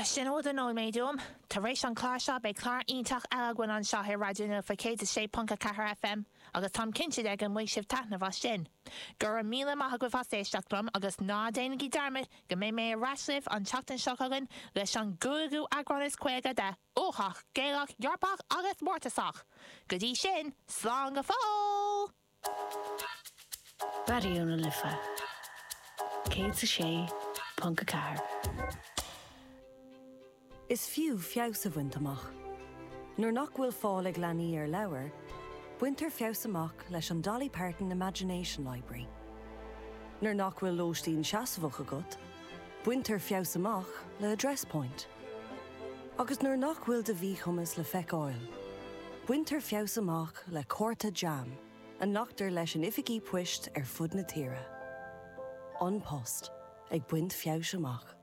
Sin a bhfuil de nóiméid uaim. Tar éis an clár seo beidh clár iontach eile againn anseo ar Raidió na Life 106.4 FM agus táim cinnte de go mbainfidh sibh taitneamh as sin. Go raibh míle maith agaibh as éisteacht liom agus ná déanaigí dearmad go mbeidh mé ar ais libh an tseachtain seo chugainn leis an gcúigiú eagrán is 50 de Uathach, Gaelach, Eorpach agus Mórtasach! Go dtí sin, slán go fóill! Raidió na Life 106.4. Is fiú feabhas a bhaint amach. Nuair nach bhfuil fáil ag leanaí ar leabhair, baintear feabhas amach leis an Dolly Parton Imagination Library. Nuair nach bhfuil lóistín seasmhach agat, baintear feabhas amach le Address Point. Agus nuair nach bhfuil do mhíchumas le feiceáil, baintear feabhas amach le cárta JAM a nglactar leis in oifigí poist ar fud na tíre. An Post, ag baint feabhais amach.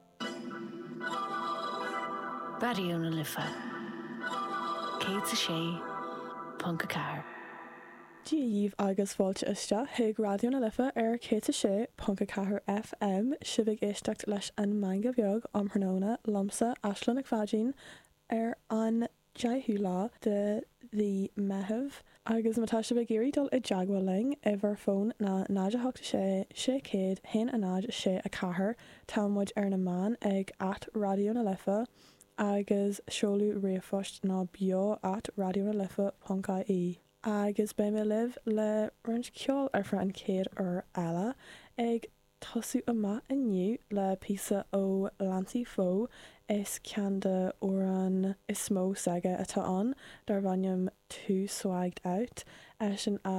Raidió na Life 106.4. Dia dhaoibh agus fáilte isteach chuig Raidió na Life ar 106.4 FM, sibh ag éisteacht leis an Meangadh Beag um thráthnóna liomsa, Aisling Nic Pháidín, ar an 10ú lá de mhí Meitheamh. Agus má tá sibh ag iarraidh dul i dteagmháil linn, uimhir fóin ná 0 8 6 600 1 0 6 4, tá muid ar na meáin ag at Raidió na Life agus seoladh ríomhphoist ná beo at raidionalife ponc ie. Agus beidh mé libh le roinnt ceoil ar feadh an chéad uair eile ag tosú amach inniu le píosa ó Lancey Foux, is ceann de amhráin is mó s'aige atá ann, darb ainm Too Swagged Out, eisean a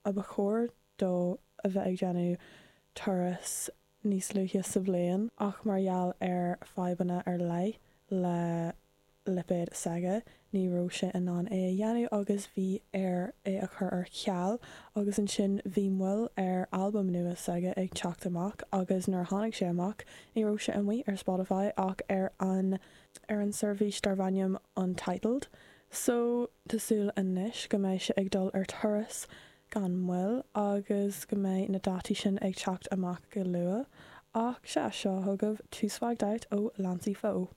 a ba chóir dó a bheith ag déanamh turas níos luaithe sa bhliain ach mar gheall ar fadhbanna ar leith le lipéad s'aige, ní raibh sé in ann é a dhéanamh agus bhí air é a chur ar ceal agus ansin bhí moill ar albam nua s'aige ag teacht amach agus nuair a tháinig sé amach ní raibh sé amuigh ar Spotify ach ar an ar an seirbhís darb ainm Untitled so tá súil anois go mbeidh sé ag dul ar turas gan mhoill agus go mbeidh na dátaí sin ag teacht amach go luath ach sea seo chugaibh Too Swagged Out ó Lancey Foux.